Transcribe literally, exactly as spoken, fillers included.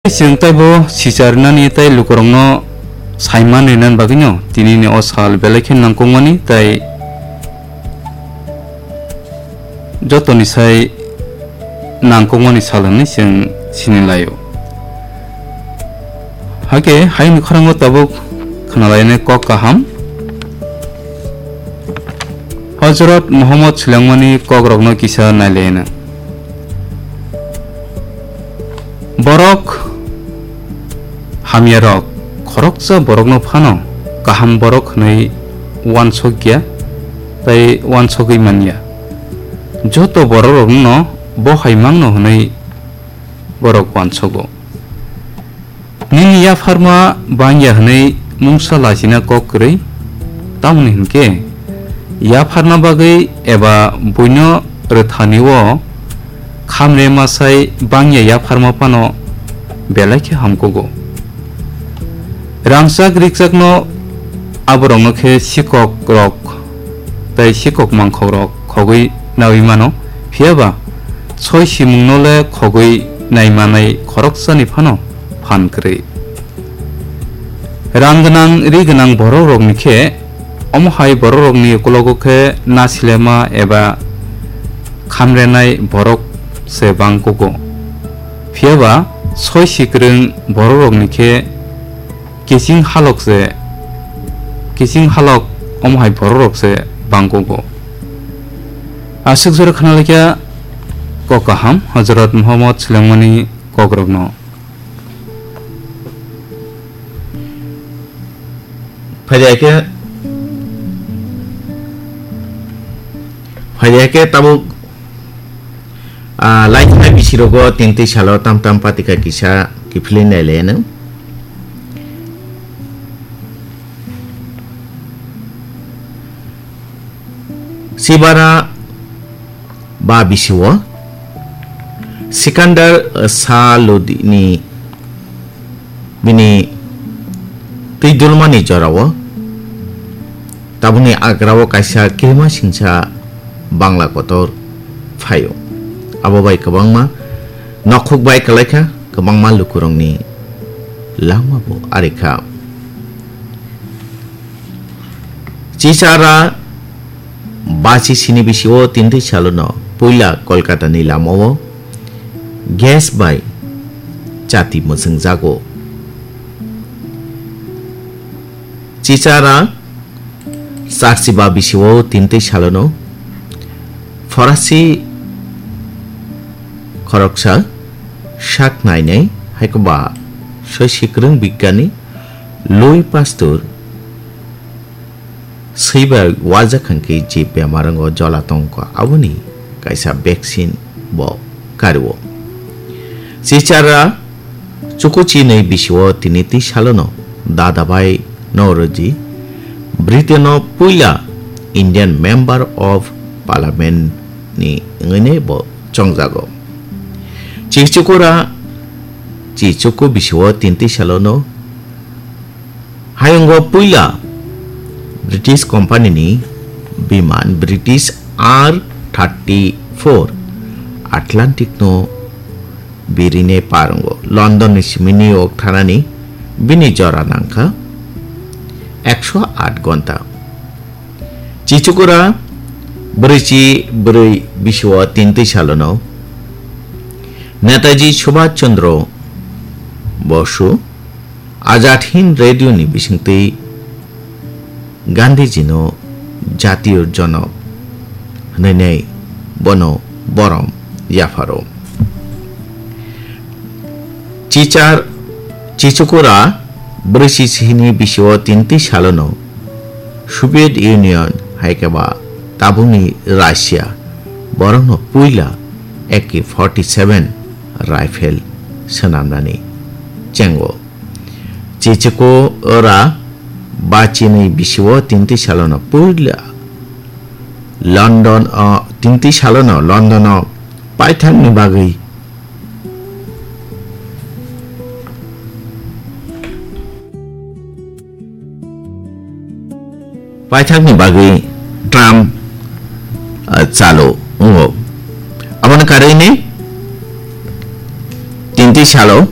Chwng taibo sichar rinani tei lukurokno saiman rinani bagwino tinini o sal belai khe nangkukmani tei jotoni sai nangkukmani sal hwnwi chwng sini laio. Hakhe hayungni khorang o tabuk khwnalainai kok kaham. Hojrot Muhammad swlangmani kokrokno kisa nailaina. Borok hamyarok khoroksa borokno phano kaham borok hwnwi uansukya tei uansugwi manya. Joto borokrokno bo hai mangno hwnwi borok uansugo. Nini yapharma bangya hwnwi mungsa lachina kok kwrwi, tamoni hwnkhe yapharna bagwi eba buino rwthani-o khamre masai bangya yapharma phano belai khe hamkugo. Rangchak rikchakno aborokno khe sikokrok tei sikok mangkhokrok khogwi naui mano, phiyaba soi simungno le khogwi nai manai khoroksani phano phan kwrwi. Rang gwnang ri gwnang borokrokni khe omo hai borokrokni ukologo khe nasilema eba khamrenai borok se bangkugo. Phiyaba soi sikwrwng borokrokni khe kiching halok se, kiching halok omo hai borokrok se bangkugo. Aswk jora khna laikha kok kaham Hojrot Muhammad swlangmani kokrokno. Phaiyakhe, phaiyakhe tabuk, ah, laithai bisirogo tintwi salo tam tam patika kisa kiphilwi nailaiyano. Sibara ba bisio Sikandar, eh, Sa Lodini bini twi dulmani jorao tabukni agrao kaisa kirima singsa Bangla kotor phaio. Abo bai kwbangma nokhuk bai kwlaikha, kwbangma lukurokni langma bo arikha. Chichara bachi sini bisio tintwi salono puila Kolkata ni lamao gas bai chati mwchwngjago. Chichara charchiba bisio tintwi salono Forasi khoroksa sak nainai haikhe ba soi sikwrwng bigyani Louis Pasteur swibai wajakhang khe je bemar wngo jola tongkha aboni kaisa vaccine bo kario. Chichara chukuchi nwi bisio tini twi salono dada bai Noroji Britain o puila Indian Member of Parliament ni wngwi bo chongjago. Chichukura Chichuku bisio tini twi salono Hayungo puila British company ni biman British R thirty four Atlantic no birine parwngo. London ni simi New York thanani bini jora nangkha ekso aat gonta. Chichukura brwichi brwi bisio tintwi salono Netaji Subhash Chandra Bosu Azad Hind Radio ni bisingtwi Gandhiji no jatiyo jonok hwnwi bono borom yapharo. Chichar Chichukura brwichi sihini bisio tintwi salono Soviet Union hai khe ba tabukni Russia borokno puila A K forty seven rifle swnamnani chengo. Chichukura bachinwi bisio tintwi salono puila London o, tintwi salono London o paithakni bagwi paithakni bagwi Trump, ah, chalo wngo. Aboni karwini tintwi salo